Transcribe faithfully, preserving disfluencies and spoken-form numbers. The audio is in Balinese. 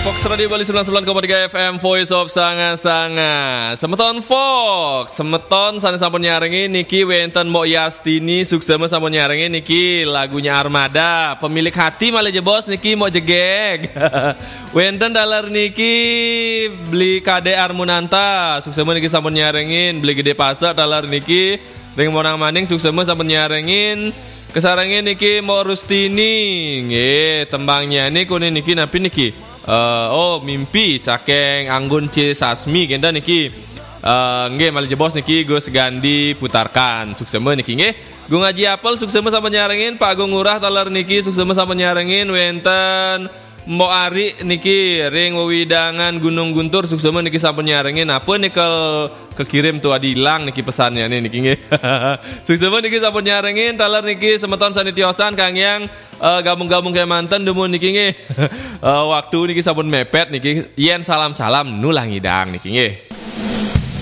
Fox Radio Bali sembilan sembilan koma tiga F M, Voice of Sanga-Sanga. Semeton Fox, semeton sane sampun nyarengin niki wenten Mbok Yastini, suksema sampun nyarengin niki lagunya Armada. Pemilik hati malah jebos niki Mbok Jegeg. Wenten taler niki Beli Kade Armunanta, suksema niki sampun nyarengin, Beli Gede Pasek taler niki ring Monang Maning, suksema sampun nyarengin. Kesarengin niki Mbok Rustini. Nggih, tembangnya niku niki napi niki? Eh, oh, Mimpi saking Anggun C Sasmi kenten niki. Eh, nggih, malih jebos niki Gus Gandhi putarkan. Suksema niki nggih. Gung Aji Apel, suksema sampun nyarengin. Pak Gung Ngurah taler niki, suksema sampun nyarengin. Wenten Mbok Ari niki ring wewidangan Gunung Guntur, suksema niki sampun nyarengin. Apa nikel kekirim tuh adilang niki pesannya nih niki nggih. Suksema niki sampun nyarengin, taler niki semeton sane tiosan kangge eh, gabung-gabung kemanten dumun niki nggih. Eh, waktu niki sampun mepet niki. Yen salam-salam nulah ngidang niki nggih.